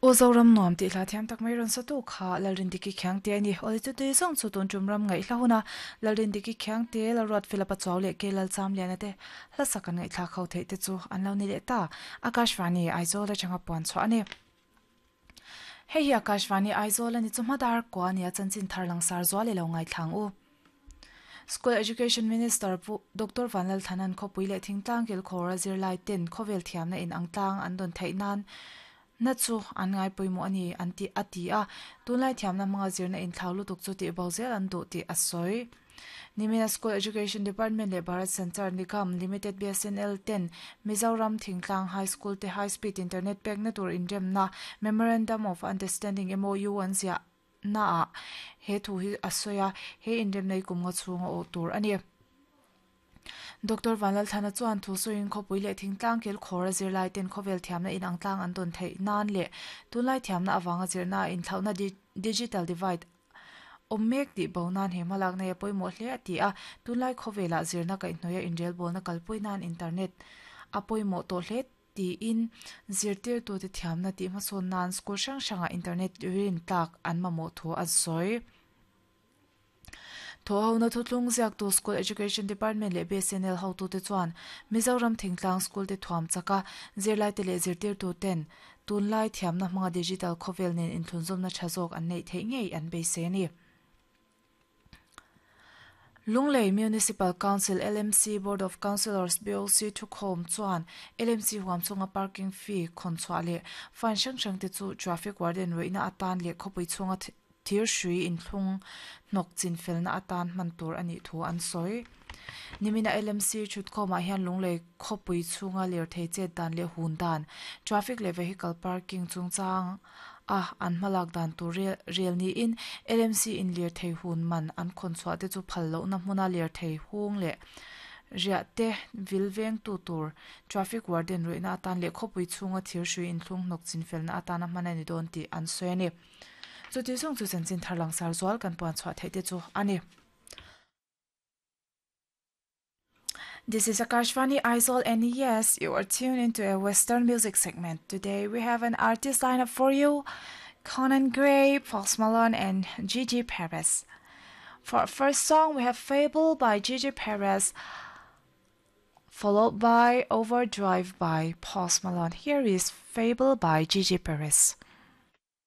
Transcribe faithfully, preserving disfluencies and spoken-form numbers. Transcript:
O Zoram nuam tih hla thiam tak mai rawn sa tu kha Lalrindiki Khiangte a ni. Awle chu tui zawng chu tun tum ram ngaih hla huna Lalrindiki Khiangte, Lalruat Philip-a Chuau leh Ke Lalchamliana te hla sak an ngaihthlak ho theih te chu an lo ni leh ta. Akashvani Aizawl atanga puan chhuah a ni. Hei hi Akashvani Aizawl a ni chu hmadar kua nia chanchin thar langsar zual i lo ngaithlang u. School Education Minister Pu Doctor Vanlal Thanan khawpui leh thingtlang kilkhawr a zirlai ten khawvel thiamna in ang tlang an dawn theih nan na chu an ngai pawimawh a ni an ti a ti a. Tunlai thiamna hmanga zirna inthlau lutuk chu tih bo zel an duh tih a sawi. Nimina School Education Department leh Bharat Sanchar Nigam Limited B S N L ten Mizoram Thingtlang High School te High Speed Internet pekna tur inremna Memorandum of Understanding M O U an ziah na ah he thu hi a sawi a, he inremna hi kum nga chhunga awh tur a ni. Doctor Vanlal Thana chuan thu sawiin khawpui leh thingtlang kilkhawr a zirlai ten khawvel thiamna in ang tlang an dawn theih nan leh tunlai thiamna avanga zirna inthlauhna digital divide awm mek tih bo nan he hmalak nei a pawimawh hle a ti a. Tunlai khawvelah zirna kaihhnawih a inrelbawlna kalpui nan internet a pawimawh tawh hle tiin zirtirtu te thiamna tih hmasawn nan school hrang hrangah internet rin tlak an mamawh thu a sawi. Thaw hona thuthlung ziaktu School Education Department leh B S N L hotu te chuan Mizoram Thingtlang School te thuam chaka zirlai te leh zirtirtu ten tunlai thiamna hmanga digital khawvel nen inthlunzawmna tha zawk an neih theih ngei an beisei a ni. Lunglei Municipal Council L M C Board of Councillors B O C thukhawm chuan L M C huam chunga parking fee khawn chhuah leh fine hrang hrang te chu traffic warden ruihna atan leh khawpui chhunga thir hrui inthlung hnawk chin felna atan hman tur a nih thu an sawi. Nimina L M C thutkhawmah hian Lunglei khawpui chhunga ler thei chet dan leh hun dan traffic leh vehicle parking chungchang a an hmalak dan tur rel niin L M C in ler thei hun man an khawn chhuah te chu phal lohna hmuna ler thei hung leh riah te vil veng tu tur traffic warden ruihna atan leh khawpui chhunga thir hrui inthlung hnawk chin felna atana hman a ni dawn tih an sawi a ni. Chu ti zawng chu chanchin thar langsar zual kan puan chhuah theih te chu a ni. This is Akashvani Aizawl, and yes, you are tuned into a Western music segment. Today we have an artist lineup for you: Conan Gray, Post Malone, and Gigi Perez. For our first song, we have Fable by Gigi Perez, followed by Overdrive by Post Malone. Here is Fable by Gigi Perez.